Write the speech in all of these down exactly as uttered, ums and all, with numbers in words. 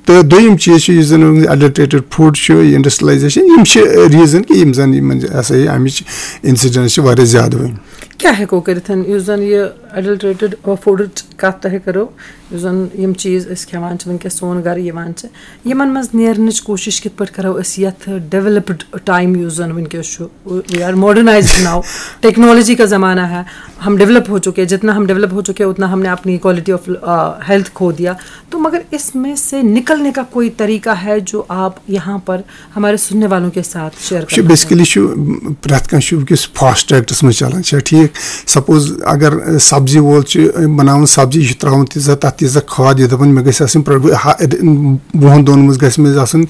تہٕ دوٚیِم چیٖز چھُ، یُس زَن اٮ۪ڈلٹریٹڈ فُڈ چھُ، انڈسٹریلایزیشن، یِم چھِ ریٖزن کہِ یِم زَن یِمن ہسا یہِ اَمِچ انسیڈنس چھِ واریاہ زیادٕ وۄنۍ۔ کیٛاہ ہٮ۪کو کٔرِتھ؟ یُس زَن یہِ اٮ۪ڈلٹریٹڈ فُڈٕچ کَتھ تۄہہِ کٔرٕو، یُس زَن یِم چیٖز أسۍ کھٮ۪وان چھِ وٕنکیٚس، سون گَرٕ یِوان چھِ، یِمَن منٛز نیرنٕچ کوٗشِش کِتھ پٲٹھۍ کَرو أسۍ یَتھ ڈیولپڈ ٹایم یُس زَن وٕنکیٚس چھُ؟ We are modernized now, technology کا زمانہ ہے، ہم ڈیولپ ہو چکے ہیں، جتنا ہم ڈیولپ ہو چکے ہیں، اتنا ہم نے اپنی کوالٹی آف ہیلتھ کھو دیا۔ تو مگر اس میں سے نکلنے کا کوئی طریقہ ہے جو آپ یہاں پر ہمارے سننے والوں کے ساتھ شیئر چھُ کرنا چاہتے ہیں؟ بیسکلی چھُ پرٛٮ۪تھ کانٛہہ چھُ وٕنکیٚس فاسٹ ٹریکس منٛز چلان، چھا ٹھیٖک؟ سپوز اگر سبزی وول چھُ بناوان سبزی، یہِ چھُ تراوان تیٖژاہ، تتھ تیٖژاہ کھاد، یہِ دپان مےٚ گژھِ آسٕنۍ پرٛ-، ہا-، وُہن دۄہن منٛز گژھِ مےٚ آسُن،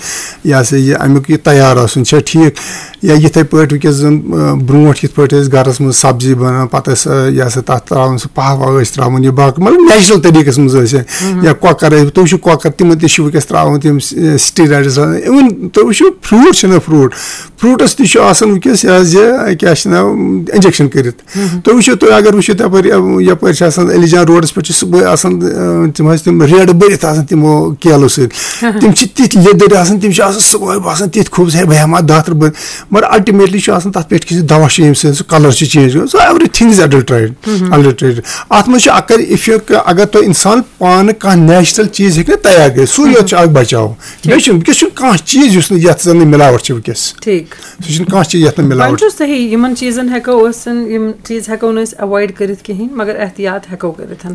یہِ ہسا یہِ امیُک یہِ تیار آسُن، چھا ٹھیٖک؟ یا یِتھے پٲٹھۍ وٕنکیٚس زن، آ، برونٛٹھ یِتھ پٲٹھۍ ٲسۍ گرس منٛز سبزی بنان، پتہٕ ٲسۍ، آ، یہِ ہسا تتھ تراوان سُہ پہہ وہہ ٲسۍ تراوان، یہِ باقٕے مطلب نیچرل طریٖقس منٛز ٲسۍ، یا کۄکر ٲسۍ، تُہۍ وٕچھِو کۄکر، تِمن تہِ چھِ وٕنکیٚس تراوان تِم، آ، steroids، even تُہۍ وٕچھِو فروٗٹ چھِنہ فروٗٹ، فروٗٹس تہِ چھُ آسان وٕنکیٚس یہِ حظ یہِ کیٛاہ چھِ ناو، انجیکشن کٔرِتھ۔ تُہۍ وٕچھِو، تُہۍ اگر وٕچھِو تپٲرۍ، آ، یپٲرۍ چھِ آسان علی جان روڈس پٮ۪ٹھ چھِ صُبحٲے آسان، آ، تِم حظ تِم ریڑٕ بٔرِتھ آسان تِمو کیلو سۭتۍ۔ تِم چھِ تِتھۍ لیٚدٕرۍ آسان، تِم چھِ آسان صُبحٲے باسان تِتھۍ خوٗبصوٗرت، بہٕ ہٮ۪مہٕ ہا دَہ ترٕٛہ بٔرۍ۔ مگر الٹیمیٹلی چھُ آسان تَتھ پٮ۪ٹھ کہِ دوا چھُ، ییٚمہِ سۭتۍ سُہ کلر چھُ چینج گژھان۔ So everything is adulterated، adulterated۔ اَتھ منٛز چھُ اگر، if you، اگر تۄہہِ اِنسان پانہٕ کانٛہہ نیچرل چیٖز ہیٚکہِ نہٕ تیار کٔرِتھ، سُے یوت چھُ اکھ بچاو۔ بیٚیہِ چھُنہٕ، وٕنکیٚس چھُنہٕ کانٛہہ چیٖز یُس نہٕ، یَتھ زَن نہٕ مِلاوَٹھ چھِ وٕنکیٚس۔ ٹھیٖک۔ سُہ چھُنہٕ کانٛہہ چیٖز یَتھ نہٕ وۄنۍ مِلاوَٹھ چھُ۔ صحیح، یِمن چیٖزن ہٮ۪کو أسۍ، یِم چیٖز ہٮ۪کو نہٕ أسۍ ایوایڈ کٔرِتھ کِہینۍ، مگر احتیاط ہٮ۪کو کٔرِتھ۔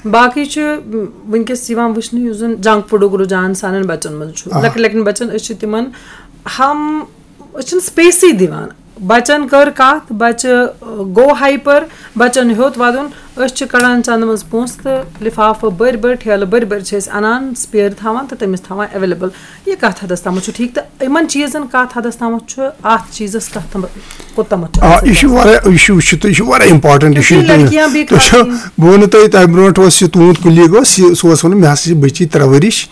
باقٕے چھُ، م، وٕنکیٚس یِوان وٕچھنہٕ یُس زَن جنک فوڈُک رُجحان سانٮ۪ن بَچَن منٛز چھُ۔ آ۔ لۄکٕٹۍ لۄکٕٹٮ۪ن بَچَن، أسۍ چھِ تِمَن ہم، أسۍ چھِنہٕ سپیسٕے دِوان۔ بَچَن کٔر کَتھ، بَچہٕ، آ، گوٚو ہایپر، بَچَن ہیوٚت وَدُن، أسۍ چھِ کَڑان چَندٕ منٛز پونٛسہٕ تہٕ لِفافہٕ بٔرۍ بٔرۍ، ٹھیلہٕ بٔرۍ بٔرۍ چھِ أسۍ اَنان، سپیر تھاوان تہٕ تٔمِس تھاوان ایویلیبل۔ یہِ کَتھ حدس تامَتھ چھُ ٹھیٖک تہٕ یِمَن چیٖزَن کَتھ حدس تامَتھ چھُ، اَتھ چیٖزَس کَتھ تام، کوٚت تامَتھ چھُ آ، اَتھ یہِ چھُ سۭتۍ واریاہ، یہِ چھُ، یہِ چھُ، یہِ چھُ واریاہ امپارٹنٹ، یہِ چھُ کیونکہ یہِ لڑکیاں بھی تُہۍ چھو، کھاتی ہیں۔ بہٕ وَنہٕ تۄہہِ، تَمہِ برونٛٹھ اوس یہِ تُہُنٛد کُلیٖگ اوس، یہِ، سُہ اوس وَنان، مےٚ ہسا چھِ بٔچی ترٛےٚ ؤرِش،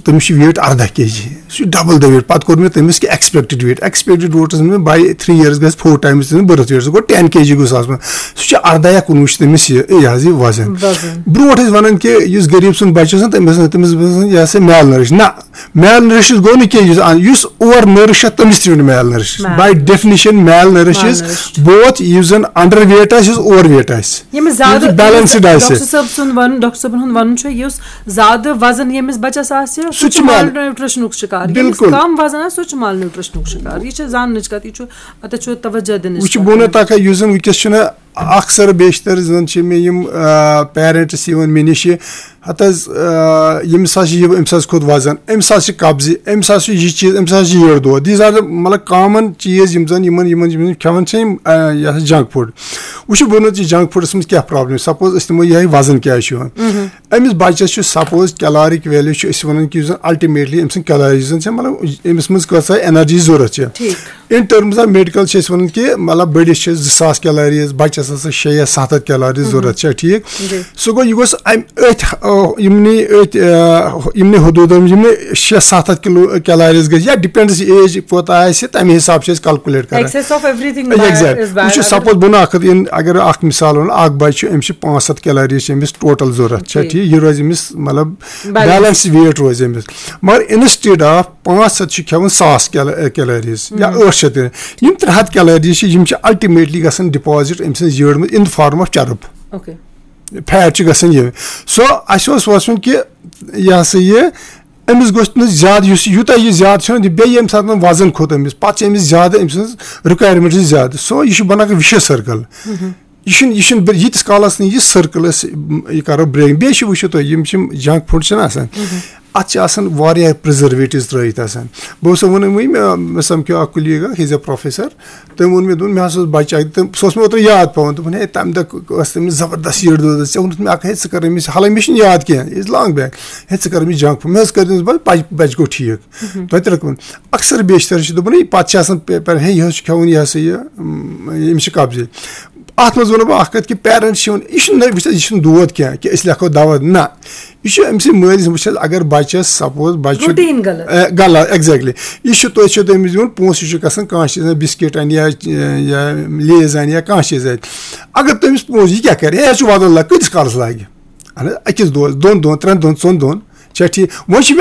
تٔمِس چھُ ویٹ ارداہ کے جی، سُہ چھُ ڈبل دا ویٹ۔ پَتہٕ کوٚر مےٚ تٔمِس کہِ ایکسپیکٹڈ ویٹ، ایکسپیکٹڈ ویٹَس منٛز باے تھری ایئرس گژھِ فور ٹائمز تٔمِس برتھ ویٹ، سُہ گوٚو ٹین کے جی گوٚو سُہ آسُن، سُہ چھُ ارداہ یا کُنوُہ چھُ تٔمِس یہِ، یہِ حظ یہِ وزن۔ وزن۔ برونٛٹھ ٲسۍ وَنان کہِ یُس غریٖب سُنٛد بَچہٕ چھُ آسان، تٔمِس، تٔمِس باسان یہِ ہسا میل نٔرِش۔ نہ، میل نٔرِشڈ گوٚو نہٕ کینٛہہ، یُس ان-، یُس اوور نٔرِش چھُ، تٔمِس تہِ چھُ میل نٔرِش۔ میل۔ باے ڈیفینیشن میل نٔرِش از، میل نٔرِشڈ۔ بوتھ یُس زن انڈر ویٹ آسہِ، یُس اوور ویٹ آسہِ۔ ییٚمِس زیادٕ، یُس بیلنسڈ آسہِ۔ ڈاکٹر صٲب سُنٛد وَنُن، ڈاکٹر صٲبن ہُنٛد وَنُن چھُ، یُس زیادٕ وزن ییٚمِس بچس آسہِ، سُہ سُہ چھُ چھُ میل-، مال نیوٗٹریشنُک شِکار۔ ییٚمِس بِلکُل۔ کم وزن آسہِ، سُہ چھُ مال نیوٗٹریشنُک شِکار۔ یہِ چھِ زاننٕچ کتھ، یہِ چھُ، اتھ چھُ توجہ دِنٕچ وٕچھ، کتھ۔ بہٕ وَنو تۄہہِ، یُس زن وٕنکیٚس چھُنہ اکثر بیشتر زن چھِ مےٚ یِم، آ، پیرنٹس یِوان مےٚ نِش، ہتہٕ حظ، آ، ییٚمِس حظ چھِ یہِ، أمِس حظ کھوٚت وزن، أمِس حظ چھِ قبضہِ، أمِس حظ چھُ یہِ چیٖز، أمِس حظ چھِ یٔڈ دود۔ These are the، مطلب، کامن چیٖز یِم زن یِمن، یِمن، یِمن کھٮ۪وان چھِ یِم، آ، یہِ ہسا جنک فوڈ۔ وٕچھِو، بہٕ وَنو ژےٚ جنک فوڈس منٛز کیٛاہ پرابلم۔ سپوز أسۍ نِمو یِہوٚے وزن کیٛازِ چھُ یِوان۔ أمِس بچس چھُ سپوز کیلارک ویلیو چھُ أسۍ وَنان کہِ یُس زن الٹیمیٹلی أمۍ سٕنٛز کیلریٖز زن چھِ، مطلب، أمِس منٛز کۭژاہ انرجی ضوٚرتھ چھِ۔ ٹھیٖک۔ In terms of medical چھِ أسۍ وَنان کہِ مطلب بٔڑِس چھِ زٕ ساس کیلریٖز، بَچَس ہسا شےٚ یا ستھ ہَتھ کیلریٖز ضوٚرَتھ چھےٚ ٹھیٖک۔ جی۔ سُہ گوٚو یہِ گوٚژھ اَمہِ أتھۍ، آ، یِمنٕے أتھۍ، آ، یِمنٕے حدوٗدَن منٛز یِمنٕے شےٚ ستھ ہَتھ کِلوٗ کیلریٖز گژھِ یا ڈِپٮ۪نڈٕس ایج کوٗتاہ آسہِ تَمہِ حساب چھِ أسۍ کیلکُلیٹ کران۔ Excess of everything is bad۔ Exactly۔ وٕچھِو اگر سپوز بہٕ نہٕ اَکھ ہَتھ اِن-، اگر اَکھ مِثال وَنو، اَکھ بَچہِ چھُ، أمِس چھِ پانٛژھ ہَتھ کیلریٖز چھِ أمِس ٹوٹل ضوٚرَتھ چھےٚ جی۔ ٹھیٖک، یہِ روزِ أمِس مطلب بیلنس۔ بیلنس ویٹ روزِ أمِس۔ مگر instead of پانٛژھ ہَتھ چھِ کھٮ۪وان ساس کیل-، کیلریٖز یا ٲٹھ شیٚتھ تہِ۔ یِم ترٛےٚ ہَتھ کیلریٖز چھِ، یِم چھِ الٹیمیٹلی گژھان ڈپازٹ أمۍ سٕنٛز یٔڑ منٛز in the form of چرٕب۔ اوکے۔ فیٹ چھُ گژھان یہِ۔ سو اَسہِ اوس وَسُن کہِ یہِ ہسا یہِ أمِس گوٚژھ نہٕ زیادٕ، یُس یوٗتاہ یہِ زیادٕ چھُنہ، یہِ بیٚیہِ ییٚمہِ ساتہٕ وۄنۍ وزن کھوٚت أمِس، پَتہٕ چھِ أمِس زیادٕ أمۍ سٕنٛز رِکویرمنٹ چھِ زیادٕ۔ سو یہِ چھُ بَنان اکھ vicious circle۔ یہِ چھُنہٕ، یہِ چھُنہٕ بر-، ییٖتِس کالَس نہٕ یہِ سٔرکٕل أسۍ، م، یہِ کَرو برٛیک۔ بیٚیہِ چھِ، وٕچھِو تُہۍ، یِم چھِ یِم جنک فُڈ چھِنہ آسان، اَتھ چھِ آسان واریاہ پرٛزرویٹِوز ترٛٲیِتھ آسان۔ بہٕ اوسُس وَنان وۄنۍ، مےٚ، مےٚ سَمکھیو اَکھ کُلیٖگ اَکھ، he's a professor، تٔمۍ ووٚن مےٚ، دوٚپُن، مےٚ ہسا اوس بَچہٕ اَکھ، تٔمۍ، سُہ اوس مےٚ اوترٕ یاد پٮ۪وان، دوٚپُن، ہے، تَمہِ دۄہ ٲس تٔمِس زبردست یٔڈ دود، ژےٚ ووٚنُتھ مےٚ اَکھ، ہے، ژٕ کَر أمِس، حالانکہ مےٚ چھُنہٕ یاد کینٛہہ، it's long back، ہے، ژٕ کَر أمِس جنک فُڈ۔ مےٚ حظ کٔر تٔمِس، بَچہٕ، بَچہٕ گوٚو ٹھیٖک۔ تۄہہِ تہِ لٔگوٕ وۄنۍ۔ اکثر بیشتر چھِ دَپان، ہے، پَتہٕ چھِ آسان پے-، پَران، ہے، یہِ حظ چھُ کھٮ۪وان، یہِ ہسا یہِ، م، أمِس چھِ قبضے۔ اَتھ منٛز وَنو بہٕ اَکھ کَتھ کہِ parents چھِ وَنان، یہِ چھُنہٕ، وٕچھ حظ، یہِ چھُنہٕ دود کینٛہہ کہِ أسۍ لیکھو دَوا، نہ۔ یہِ چھُ أمۍ سٕنٛدِ مٲلۍ سٕنٛدِ، وٕچھ حظ، اگر بَچَس سپوز بَچہٕ چھُ، روٹیٖن غلط۔ اے، غلط، exactly۔ یہِ چھُ، تُہۍ چھِو تٔمِس دِوان پونٛسہٕ، یہِ چھُ گژھان کانٛہہ چیٖز، بِسکِٹ اَنہِ یا، یا لیز اَنہِ یا کانٛہہ چیٖز اَنہِ۔ اگر تٔمِس پونٛسہٕ، یہِ کیٛاہ کَرِ؟ ہے، یہِ چھُ وَدُن لَگہِ، کۭتِس کالَس لَگہِ؟ اَہَن حظ، أکِس دۄہَس، دۄن دۄہَن، ترٛٮ۪ن دۄہَن، ژۄن دۄہَن۔ چھا ٹھیٖک؟ وۄنۍ چھِ مےٚ